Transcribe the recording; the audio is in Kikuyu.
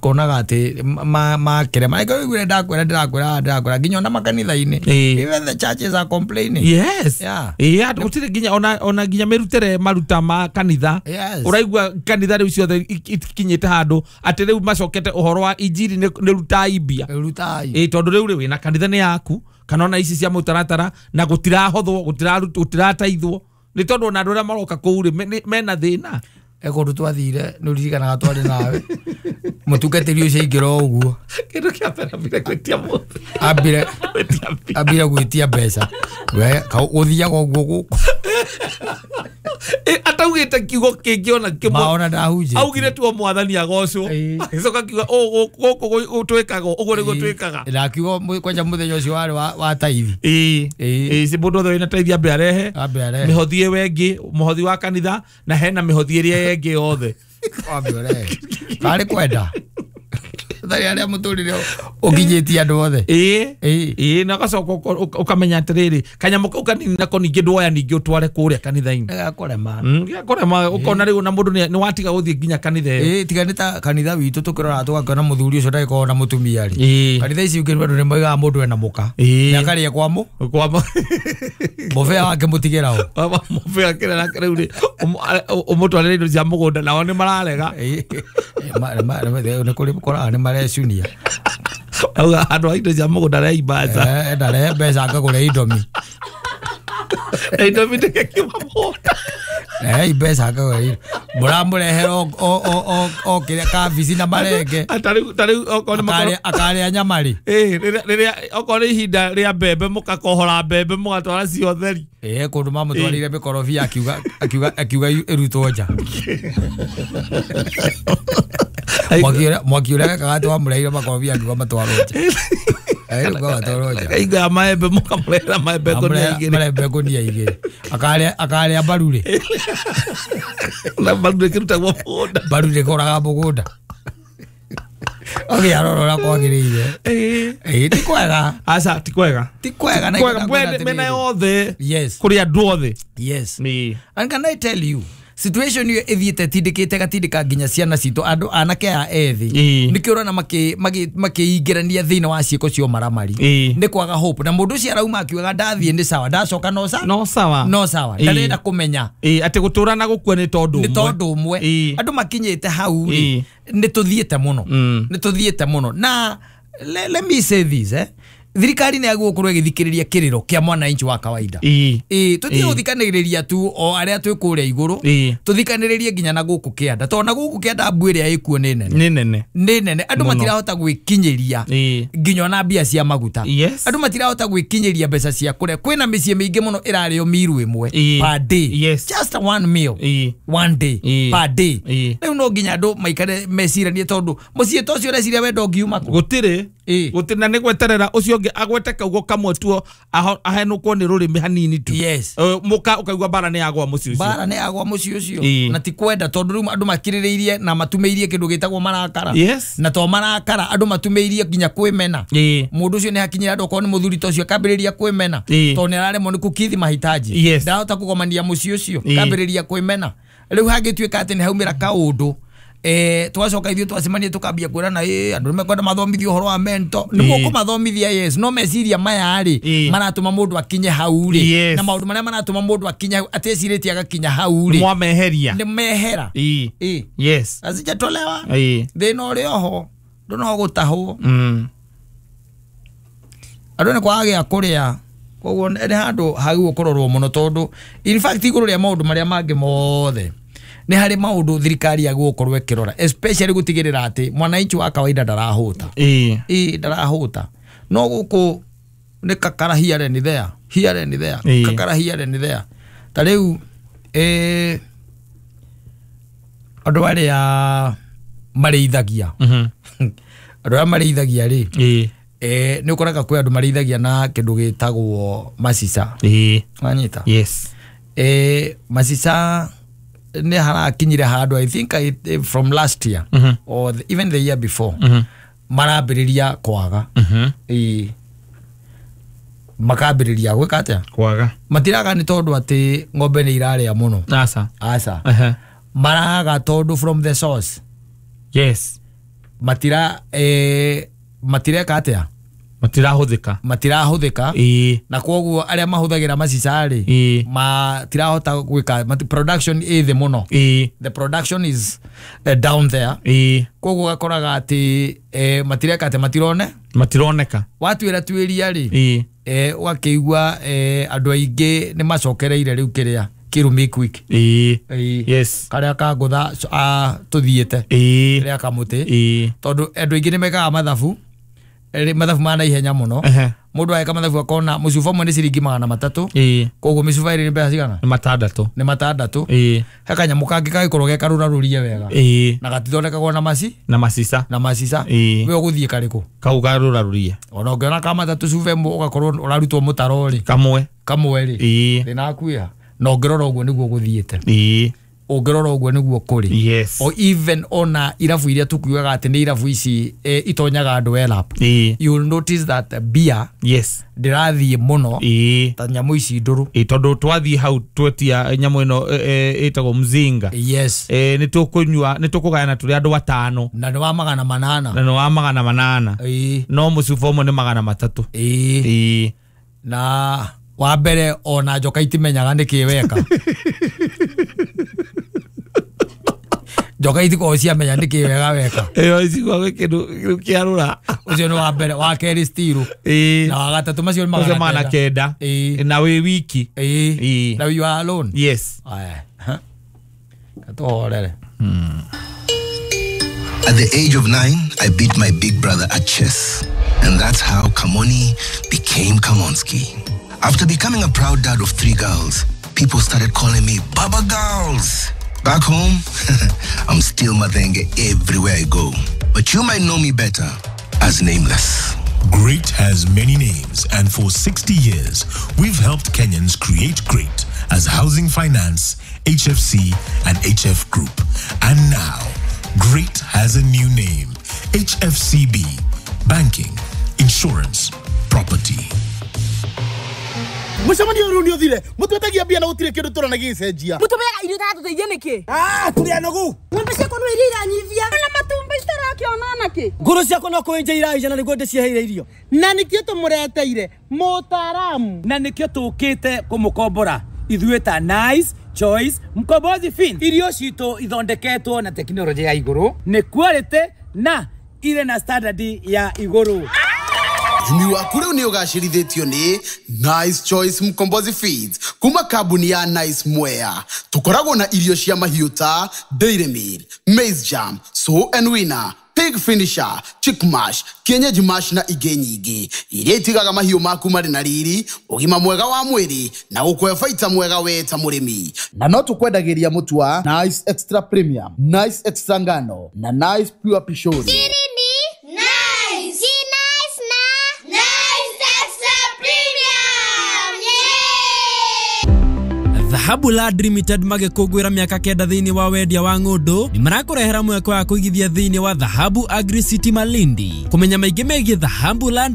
Konaga atĩ makĩrema ĩngĩ ndakwĩra ndĩrakwĩra ndĩrakwĩra nginya ona makanitha-inĩ, even the churches are complaining. Yeah. Ĩĩ, andũ gũtirĩ nginya ona nginya mĩrutĩre maruta ma kanitha. Ũraigua kanitha rĩu ciothe ikinyĩte handũ atĩ rĩu macokete ũhoro wa injiri nĩ rutai mbia. Rutai. Ĩĩ, tondũ rĩu rĩ wĩna kanitha nĩ yaku kana ona ici cia mũtaratara na gũtirahothwo, gũtirataithwo nĩ tondũ ona andũ arĩa maroka kũu rĩ mena thĩna. Kũndũ twathire nĩ ũririkanaga twarĩ nawe mũtungatĩri ũcio aingĩra o ũguo. Kĩndũ kĩa mbere ambire gwĩtia mũthĩ. Ambire Gwĩtia mbia. Ambire gwĩtia mbeca we gũthiaga ũguo gũkũ. Ataugĩte kiugo kĩngĩ ona kĩmwe. Maona ndahunjĩtie. Augire tu o mwathani agocwo. Agĩcoka akiuga, "Ũ, gũkũ twĩkaga ũguo nĩguo twĩkaga." Na akiuga kwanja mũthenya ũcio warĩ wa taithi. Ĩĩ, si mũndũ wothe wĩna taithi ambe arehe. Ambe arehe. Mĩhothi ĩyo ĩngĩ, mũhothi wa kanitha na hena mĩhothi ĩrĩa ĩngĩ yothe. Ambe ũrehe. Karĩ kwenda tharĩ arĩa mũtũrĩre ũkinyĩtie andũ othe. Ĩĩ, na ũgacoka ũkamenya atĩrĩrĩ, kanyamũ kau kanini nako ningĩ ndwoya ningĩ ũtware kũrĩa kanitha-inĩ. Gakũrema. Gakũrema, ũkona rĩu ona mũndũ nĩ watiga gũthiĩ nginya kanitha ĩyo. Ĩĩ, tiga nĩ ta kanitha witũ tũkĩrora tũgakĩona mũthuri ũcio ndagĩkorwo na mũtumia rĩ. Kanitha ici ingĩ andũ nĩ moigaga mũndũ ena mũka. Nĩ akarĩa kwa mũ. Kwa mũ. Mũbĩa wake mũtigĩra o. Mũbĩa kĩrĩa nake rĩu rĩ, ũmũtwarĩre indo cia mũgũnda nao nĩ mararega. Ĩĩ, nĩ kũrĩ ũkoraga nĩ marecunia. Auga andũ a indo cia mũgũnda reimbaca. Ndarehe mbeca ngagũre indomi. Indomi ndĩgĩkiuma mũgũnda. Mbeca ngagũre indo. Mũramũrehera o kĩrĩa kabici na marenge. Ta rĩu okorwo nĩ makoro- Akarĩa nyama rĩ. Ĩĩ, rĩrĩa okorwo nĩ ihinda rĩa mbembe mũkakohora mbembe mũgatwara ciothe rĩ. Ĩĩ, kũndũ mamũtwarĩire mĩkorobia akiuga ĩrutwo nja. Mwaki ũrĩa wekaga atĩ wamũreheire makorobia akiuga matwarwo nja. Akiuga matwarwo nja. Hingo ya maembe mũkamũrehera maembe ngũnia igĩrĩ. Maembe ngũnia igĩrĩ. Akarĩa mbaru rĩ. Na mbaru ndĩkĩrutagwo mũgũnda. Mbaru ndĩkũraga mũgũnda. Okay, arora ũrĩa kwagĩrĩire. Ĩĩ, ti kwega. Aca, ti kwega. Ti kwega na Kwega, ikenda mwene kwenda mena atĩrĩrĩ. yothe. Yes. Kũrĩ andũ othe. Yes. Ĩĩ. And can I tell you, situation ĩyo ĩthiĩte tindĩkĩte gatindĩka nginya ciana citũ andũ anake aya ethĩ. Nĩkĩo ũrona makĩingĩrania thĩinĩ wa ciĩko cia ũmaramari. Nĩ kwaga hope. Na mũndũ ũcio arauma akiugaga ndathiĩ nĩ sawa, ndacoka no sawa. No sawa. No sawa. Ndarenda kũmenya. Ĩĩ, atĩ gũtũra na gũkua nĩ tondũ Nĩ ũmwe. tondũ ũmwe. Andũ makinyĩte hau rĩ, nĩ tũthiĩte mũno. Nĩ tũthiĩte mũno. Na let me say this, Thirikari nĩ yagĩrĩirwo gũkorwo ĩgĩthikĩrĩria kĩrĩro kĩa mwananchi wa kawaida. Ĩĩ, tũtige gũthikanĩrĩria tu o arĩa twĩ kũrĩa igũrũ. Tũthikanĩrĩrie nginya na gũkũ kĩanda. Tondũ na gũkũ kĩanda mbu ĩrĩa ĩkuo nĩ nene. Nĩ nene. Nĩ nene. Andũ Mũno. matirahota gwĩkinyĩria nginya ona mbia cia maguta. Andũ matirahota gwĩkinyĩria mbeca cia kũrĩa. Kwĩna mĩciĩ mĩingĩ mũno ĩrarĩo miru ĩmwe per day. Just one meal. One day. Per day. Rĩu no nginya andũ maikare meciranie tondũ mũciĩ ta ũcio ũreciria we ndũngiuma kũ. Gũtirĩ. Gũtirĩ na nĩ gweterera ũcio ũngĩ agwete kaugo kamwe tu ahenũkwo nĩ rũrĩmĩ hanini tu. Mũka ũkaigua mbara nĩ yagwa mũciĩ ũcio. Mbara nĩ yagwa mũciĩ ũcio. Na ti kwenda tondũ rĩu andũ makirĩrĩirie na matumĩirie kĩndũ gĩtagwo marakara. Na to marakara andũ matumĩirie nginya kwĩmena. Mũndũ ũcio nĩ hakinyĩra andũ okorwo nĩ mũthuri ta ũcio akambĩrĩria kwĩmena. Tondũ nĩ araremwo nĩ kũkithi mahitaji. Ndarahota kũgomania mũciĩ ũcio. Akambĩrĩria kwĩmena. Rĩu hangĩtuĩka atĩ nĩ haumĩra kaũndũ, twacoka ithuĩ twacemania tũkambia kwĩrana, andũ nĩ mekwenda mathomithio ũhoro wa mental. Nĩ mũkũmathomithia, yes, no meciria maya rĩ, maratũma mũndũ akinye hau rĩ. Na maũndũ marĩa maratũma mũndũ akinye hau, atecirĩtie agakinya hau rĩ. Mwameheria. Nĩ mehera. Azijatolewa. Thĩna ũrĩ oho, ndũ no gũtahwo. Andũ nĩ kwaga gĩa kũrĩa. Koguo nĩ handũ hagĩrĩirwo kũrorwo mũno tondũ in fact igũrũ rĩa maũndũ marĩa mangĩ mothe nĩ harĩ maũndũ thirikari yagĩrĩirwo gũkorwo ĩkĩrora, especially gũtigĩrĩra atĩ mwananchi wa kawaida ndarahũta. Ĩĩ, ndarahũta. No gũkũ nĩ kakara here and there, here and there, kakara here and there. Ta rĩu, andũ arĩa marĩithagia. Andũ arĩa marĩithagia rĩ, nĩ ũkoraga kwĩ andũ marĩithagia na kĩndũ gĩtagwo macica. Wanyita? Macica nĩ harakinyire handũ, I think from last year or even the year before, marambĩrĩria kwaga. Makambĩrĩria gwĩka atĩa? Kwaga. Matiraga nĩ tondũ atĩ ng'ombe nĩ irarĩa mũno. Aca. Aca. Maraga tondũ from the source. Matira matireka atia? Matirahuthika. Matirahuthika. Na koguo aria mahuthagira macica ri matirahota gwika production ĩ thĩ mũno. The production is down there. Koguo gakoraga ati matireka ati matirone matironeka watuira tuiria ri ugakiigua andu aingi ni macokereire riu kiria Kirumi quick. Yes. Karia ka ngutha tuthiite ria kamuti tondu andu aingi ni mekaga mathabu mathabu ma na ihenya muno. Mundu ageka mathabu akona mucuba umwe ni ciringi 300. Koguo micuba iri ni mbeca cigana? Ni 6. Ni 6. He kanyamu kangi kagikorwo ge karurarurie wega. Na gatithondekagwo na maci na macica. Na macica. We uguthie kariku? Kau karurarurie. Ona ungiona ka 3 cuba imwe ugakorwo urarutwo mutaro ri. Kamwe. Kamwe ri. Thina akuia. Na ungirora uguo niguo guthiite. Ungirora uguo niguo kuri. Yes. O even ona irabu iria tukiugaga ati ni irabu ici itonyaga andu elap. You will notice that beer yes ndirathie muno ta nyamu ici nduru. Tondu twathie hau twetia nyamu ino itagwo mzinga. Yes. Ni tukunyua ni tukugayana turi andu 5 na ni wa 800. Na ni wa 800. No mucuba umwe ni 300. Na wa mbere ona njoka itimenyaga niki weka. Njoka itikoragwo ciamenya niki wega weka. Iyo icigwa kindu kiarura. Ucio ni wa mbere, wa keri stiru. Na wa gatatu macio ni 900. Na wi wiki. Na you are alone. Yes. Aya. Katuhorere. At the age of 9, I beat my big brother at chess. And that's how Kamoni became Kamonski. After becoming a proud dad of 3 girls, people started calling me Baba Girls. Back home, I'm still Mathenge everywhere I go. But you might know me better as Nameless. Great has many names, and for 60 years, we've helped Kenyans create great as Housing Finance, HFC, and HF Group. And now, Great has a new name, HFCB, Banking, Insurance, Property. Mucemanio riu ni uthire mutwetagia mbia na gutire kindu turona gicenjia mutumeaga irio tatuteithie niki turi anogu ng'ombe ciakwa no iria iranyivia na matumbi citarakiona naki nguru ciakwa no kwinja iraija na niguo ndiciheire irio na nikio tumureteire mutaramu na nikio tukite kumukombora ithuĩ ta Nice Choice Mkombozi Fin. Irio citũ ithondeketwo na tekinoronjĩ ya igũrũ nĩ quality na ire na standard ya igũrũ. Ũrĩmi waku rĩu nĩ ũgacĩrithĩtio nĩ Nice Choice Mkombozi Feeds kuma kambuni ya Nice Mwea. Tũkoragwo na irio cia mahiũ ta Dairy Meal, Maize Jam, Sow and Winner, Pig Finisher, Chick Mash, Kienyeji Mash na ingĩ nyingĩ iria itigaga mahiũ maku marĩ na riri, ũgima mwega wa mwĩrĩ na gũkũhe baita mwega we ta mũrĩmi. Na no tũkwendagĩria mũtu wa Nice Extra Premium, Nice Extra Ngano na Nice Pure Pishori. Dhahabu Land Limited magĩkũngũĩra mĩaka 9 thĩinĩ wa wendia wa ng'ũndũ nĩ marakũrehera mweke wa kũigithia thĩinĩ wa Dhahabu Agri City Malindi. Kũmenya maingĩ megiĩ Dhahabu Land